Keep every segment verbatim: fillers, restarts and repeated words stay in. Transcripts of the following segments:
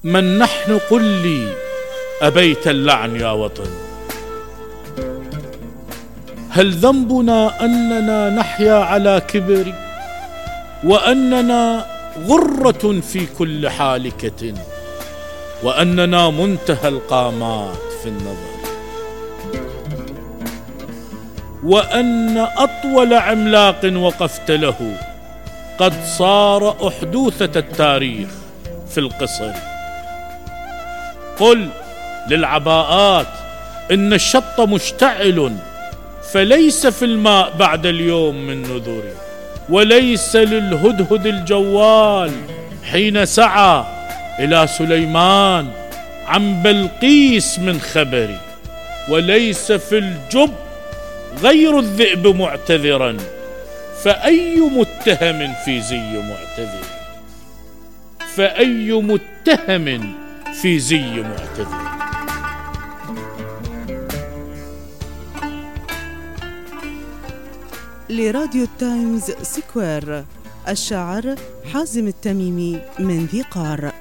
من نحن قل لي أبيت اللعن يا وطن؟ هل ذنبنا أننا نحيا على كبر، وأننا غرة في كل حالكة، وأننا منتهى القامات في النظر، وأن أطول عملاق وقفت له قد صار أحدوثة التاريخ في القصر؟ قل للعباءات إن الشط مشتعل، فليس في الماء بعد اليوم من نذر، وليس للهدهد الجوال حين سعى إلى سليمان عن بلقيس من خبر، وليس في الجب غير الذئب معتذرا، فأي متهم في زي معتذر، فأي متهم في زي معتذر. لراديو تايمز سكوير، الشاعر حازم التميمي من ذي قار.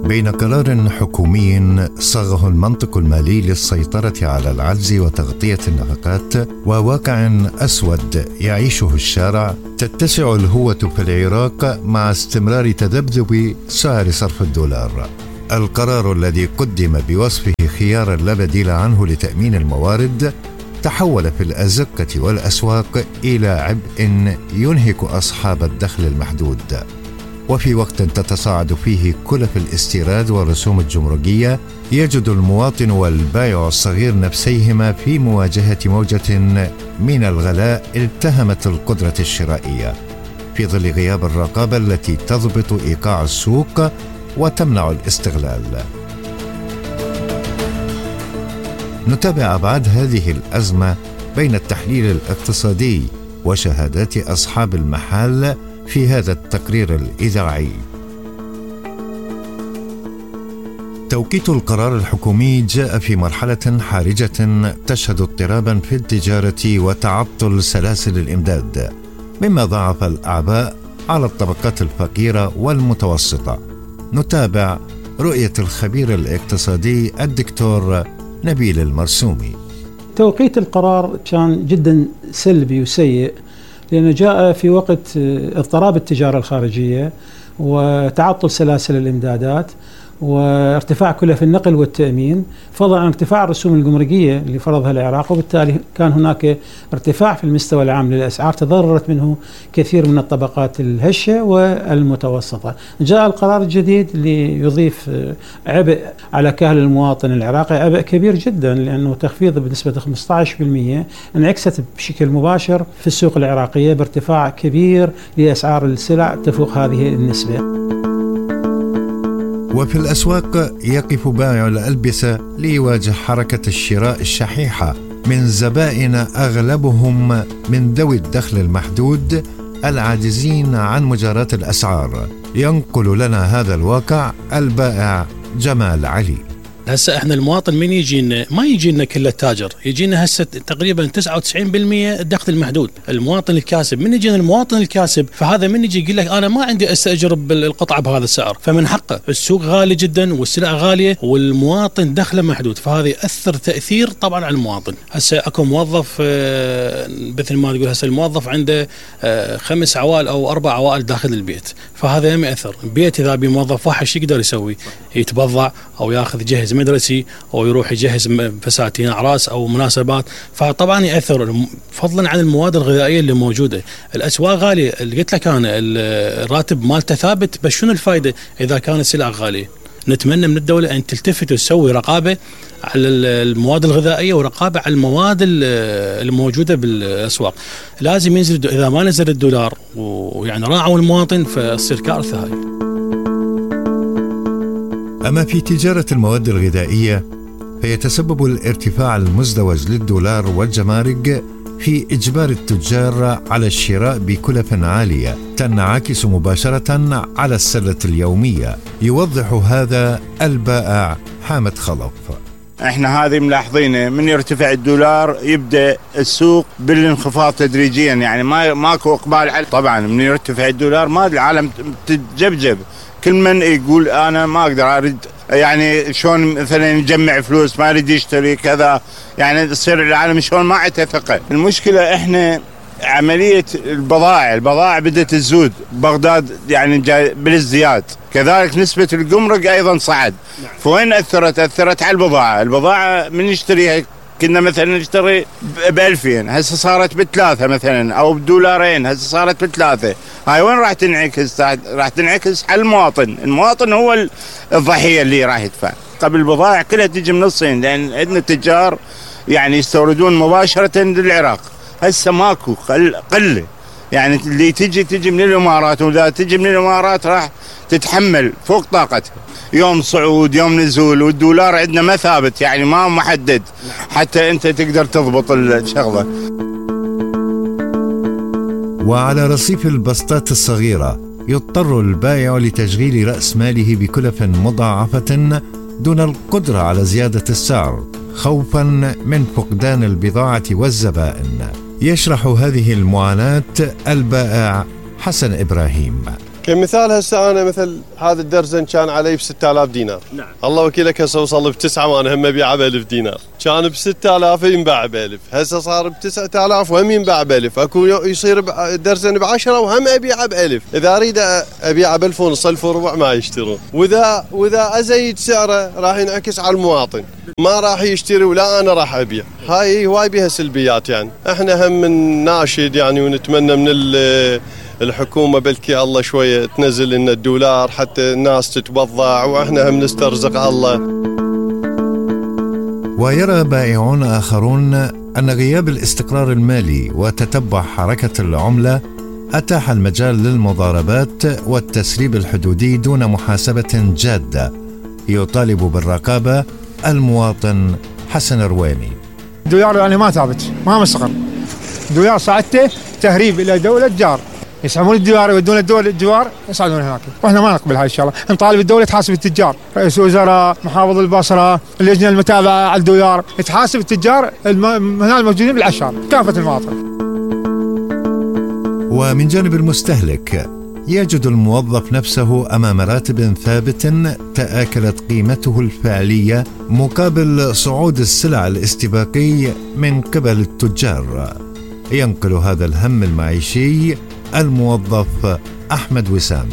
بين قرار حكومي صاغه المنطق المالي للسيطرة على العجز وتغطية النفقات، وواقع أسود يعيشه الشارع، تتسع الهوة في العراق مع استمرار تذبذب سعر صرف الدولار. القرار الذي قدم بوصفه خيارا لا بديل عنه لتأمين الموارد تحول في الأزقة والأسواق إلى عبء ينهك أصحاب الدخل المحدود. وفي وقت تتصاعد فيه كلف الاستيراد والرسوم الجمركية، يجد المواطن والبائع الصغير نفسيهما في مواجهة موجة من الغلاء التهمت القدرة الشرائية، في ظل غياب الرقابة التي تضبط إيقاع السوق وتمنع الاستغلال. نتابع أبعاد هذه الأزمة بين التحليل الاقتصادي وشهادات أصحاب المحال في هذا التقرير الإذاعي. توقيت القرار الحكومي جاء في مرحلة حرجة تشهد اضطرابا في التجارة وتعطل سلاسل الإمداد، مما ضاعف الأعباء على الطبقات الفقيرة والمتوسطة. نتابع رؤية الخبير الاقتصادي الدكتور نبيل المرسومي. توقيت القرار كان جدا سلبي وسيء، لأنه جاء في وقت اضطراب التجارة الخارجية وتعطل سلاسل الإمدادات وارتفاع كلف النقل والتأمين، فضلا عن ارتفاع الرسوم الجمركية اللي فرضها العراق، وبالتالي كان هناك ارتفاع في المستوى العام للأسعار تضررت منه كثير من الطبقات الهشة والمتوسطة. جاء القرار الجديد ليضيف عبء على كاهل المواطن العراقي، عبء كبير جدا، لأنه تخفيض بنسبة خمسة عشر بالمئة انعكست بشكل مباشر في السوق العراقية بارتفاع كبير لأسعار السلع تفوق هذه النسبة. وفي الأسواق يقف بائع الألبسة ليواجه حركة الشراء الشحيحة من زبائن أغلبهم من ذوي الدخل المحدود العاجزين عن مجاراة الأسعار. ينقل لنا هذا الواقع البائع جمال علي. هسه احنا المواطن من يجينا ما يجينا كله تاجر، يجينا هسه تقريبا تسعة وتسعين بالمئة الدخل المحدود. المواطن الكاسب من يجينا المواطن الكاسب، فهذا من يجي يقول لك انا ما عندي استاجر القطعه بهذا السعر، فمن حقه. السوق غالي جدا والسلع غاليه والمواطن دخله محدود، فهذا ياثر تاثير طبعا على المواطن. هسه اكو موظف مثل ما تقول، هسه الموظف عنده خمس عوائل او اربع عوائل داخل البيت، فهذا ما ياثر. البيت اذا بموظف واحد شو يقدر يسوي؟ يتبضع او ياخذ يجهز مدرسي او يروح يجهز فساتين اعراس او مناسبات، فطبعا ياثر. فضلا عن المواد الغذائيه اللي موجوده، الاسواق غاليه. اللي قلت لك انا الراتب مالته ثابت، بس شنو الفائده اذا كانت السلع غاليه؟ نتمنى من الدوله ان تلتفت وتسوي رقابه على المواد الغذائيه ورقابه على المواد الموجوده بالاسواق. لازم ينزل، اذا ما نزل الدولار ويعني راعوا المواطن فتصير كارثه هاي. أما في تجارة المواد الغذائية فيتسبب الارتفاع المزدوج للدولار والجمارك في إجبار التجار على الشراء بكلف عالية تنعكس مباشرة على السلة اليومية. يوضح هذا البائع حامد خلف. احنا هذه ملاحظينه، من يرتفع الدولار يبدا السوق بالانخفاض تدريجيا، يعني ما ماكو اقبال عليه. طبعا من يرتفع الدولار ما العالم تتجبجب، كل من يقول انا ما اقدر اريد، يعني شلون مثلا يجمع فلوس ما يريد يشتري كذا، يعني تصير العالم شلون ما عنده ثقه. المشكله احنا عمليه البضائع البضائع بدات تزود، بغداد يعني جاي بالازدياد، كذلك نسبه الجمرك ايضا صعد. فوين اثرت؟ اثرت على البضاعه، البضاعه من نشتريها كنا مثلا نشتري بألفين، هسه صارت بثلاثة مثلا أو بدولارين، هسه صارت بثلاثة. هاي وين راح تنعكس؟ راح تنعكس على المواطن، المواطن هو الضحية اللي راح يدفع. قبل البضائع كلها تجي من الصين، لأن عندنا تجار يعني يستوردون مباشرة للعراق، هسه ماكو، قلة، يعني اللي تجي تجي من الإمارات، وإذا تجي من الإمارات راح تتحمل فوق طاقتها، يوم صعود يوم نزول، والدولار عندنا ما ثابت، يعني ما محدد حتى انت تقدر تضبط الشغله. وعلى رصيف البسطات الصغيره يضطر البائع لتشغيل راس ماله بكلف مضاعفه دون القدره على زياده السعر خوفا من فقدان البضاعه والزبائن. يشرح هذه المعاناه البائع حسن ابراهيم. كمثال هسه انا مثل هذا الدرزن كان علي ب ستة آلاف دينار. نعم. الله وكيلك هسه وصل بتسعة وانا هم ابيعه ب ألف دينار. كان ب ستة آلاف ينباع ب ألف، هسه صار ب تسعة آلاف وهم ينباع ب ألف، اكو يصير درزن ب عشرة وهم ابيعه ب ألف، اذا اريد ابيعه ب ألف ونص ألف وربع ما يشترون، واذا واذا ازيد سعره راح ينعكس على المواطن، ما راح يشتري ولا انا راح ابيع. هاي هواي بها سلبيات، يعني احنا هم من ناشد يعني ونتمنى من الحكومة بلكي الله شوية تنزل لنا الدولار حتى الناس تتبضع واحنا هم نسترزق الله. ويرى بائعون آخرون أن غياب الاستقرار المالي وتتبع حركة العملة أتاح المجال للمضاربات والتسريب الحدودي دون محاسبة جادة. يطالب بالرقابة المواطن حسن رويمي. الدولار يعني ما ثابت، ما مستقر، الدولار صعدته تهريب إلى دولة جار، يسحبون الدولار يودون الدول الجوار يصعدون هناك، واحنا ما نقبل هاي الشغله، نطالب الدوله تحاسب التجار، رئيس وزراء، محافظ البصره، اللجنه المتابعه على الدولار، تحاسب التجار هنا الموجودين بالعشار، كافه المواطن. ومن جانب المستهلك يجد الموظف نفسه امام راتب ثابت تآكلت قيمته الفعليه مقابل صعود السلع الاستباقي من قبل التجار. ينقل هذا الهم المعيشي الموظف أحمد وسام.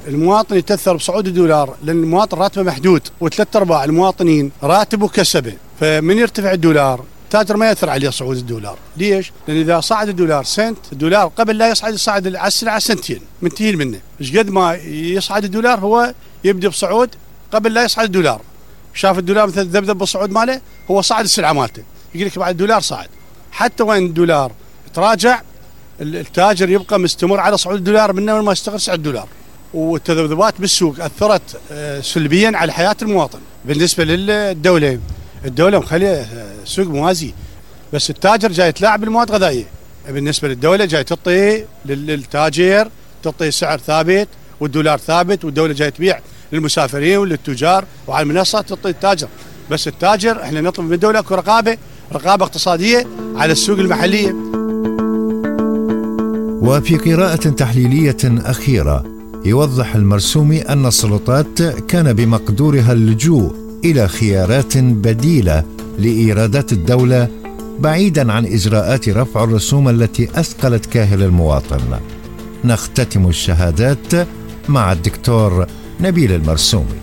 المواطن يتأثر بصعود الدولار لأن المواطن راتبه محدود، وثلاث أرباع المواطنين راتبه كسبه، فمن يرتفع الدولار التاجر ما يأثر عليه صعود الدولار. ليش؟ لأن إذا صعد الدولار سنت، الدولار قبل لا يصعد يصعد على السلعة سنتين منتهين منه، إيش قد ما يصعد الدولار هو يبدأ بصعود قبل لا يصعد الدولار. شاف الدولار مثل ذبذب بالصعود ماله، هو صعد السلعة مالته، يقول لك بعد الدولار صعد، حتى وين الدولار تراجع التاجر يبقى مستمر على صعود الدولار من ما يستقر سعر الدولار. والتذبذبات بالسوق أثرت سلبيا على حياة المواطن. بالنسبة للدولة، الدولة مخلية سوق موازي، بس التاجر جاي يتلاعب بالمواد الغذائية. بالنسبة للدولة جاي تعطي للتاجر تعطي سعر ثابت والدولار ثابت، والدولة جاي تبيع للمسافرين وللتجار وعلى المنصة تعطي التاجر. بس التاجر احنا نطلب من الدولة اكو رقابة رقابة اقتصادية على السوق المحلية. وفي قراءة تحليلية أخيرة يوضح المرسومي أن السلطات كان بمقدورها اللجوء إلى خيارات بديلة لإيرادات الدولة بعيداً عن إجراءات رفع الرسوم التي أثقلت كاهل المواطن. نختتم الشهادات مع الدكتور نبيل المرسومي.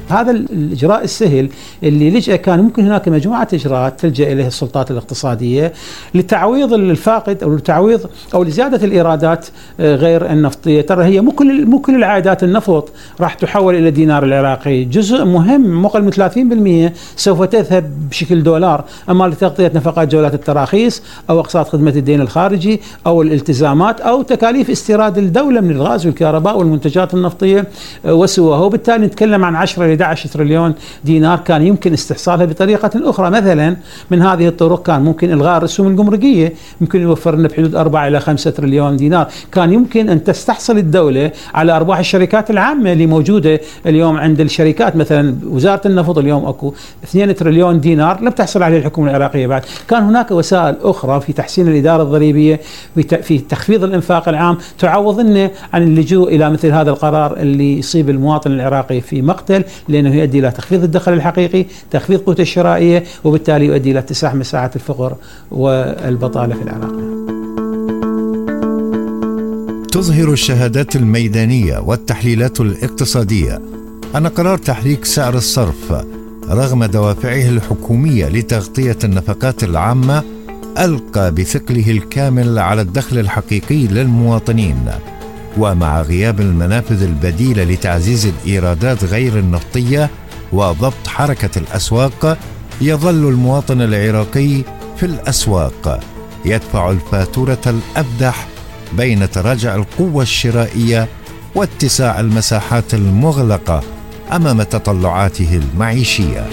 هذا الإجراء السهل اللي لجأ كان ممكن هناك مجموعة إجراءات تلجأ إليها السلطات الاقتصادية لتعويض الفاقد أو لتعويض أو لزيادة الإيرادات غير النفطية. ترى هي مو كل مو كل العائدات النفط راح تحول إلى الدينار العراقي، جزء مهم مقل من ثلاثين بالمئة سوف تذهب بشكل دولار، أما لتغطية نفقات جولات التراخيص أو أقساط خدمة الدين الخارجي أو الالتزامات أو تكاليف استيراد الدولة من الغاز والكهرباء والمنتجات النفطية وسواها. وبالتالي نتكلم عن عشرة أحد عشر تريليون دينار كان يمكن استحصالها بطريقة أخرى. مثلا من هذه الطرق كان ممكن إلغاء الرسوم الجمركية، يمكن يوفر لنا بحدود أربعة إلى خمسة تريليون دينار. كان يمكن أن تستحصل الدولة على أرباح الشركات العامة اللي موجودة اليوم عند الشركات. مثلا وزارة النفط اليوم أكو اثنين تريليون دينار لم تحصل عليه الحكومة العراقية بعد. كان هناك وسائل أخرى في تحسين الإدارة الضريبية، في تخفيض الإنفاق العام، تعوضنا عن اللجوء إلى مثل هذا القرار اللي يصيب المواطن العراقي في مقتل، لأنه يؤدي إلى تخفيض الدخل الحقيقي، تخفيض قوته الشرائية، وبالتالي يؤدي إلى اتساع مساحات الفقر والبطالة في العراق. تظهر الشهادات الميدانية والتحليلات الاقتصادية أن قرار تحريك سعر الصرف رغم دوافعه الحكومية لتغطية النفقات العامة ألقى بثقله الكامل على الدخل الحقيقي للمواطنين. ومع غياب المنافذ البديلة لتعزيز الإيرادات غير النفطية وضبط حركة الأسواق، يظل المواطن العراقي في الأسواق يدفع الفاتورة الأبدح بين تراجع القوة الشرائية واتساع المساحات المغلقة أمام تطلعاته المعيشية.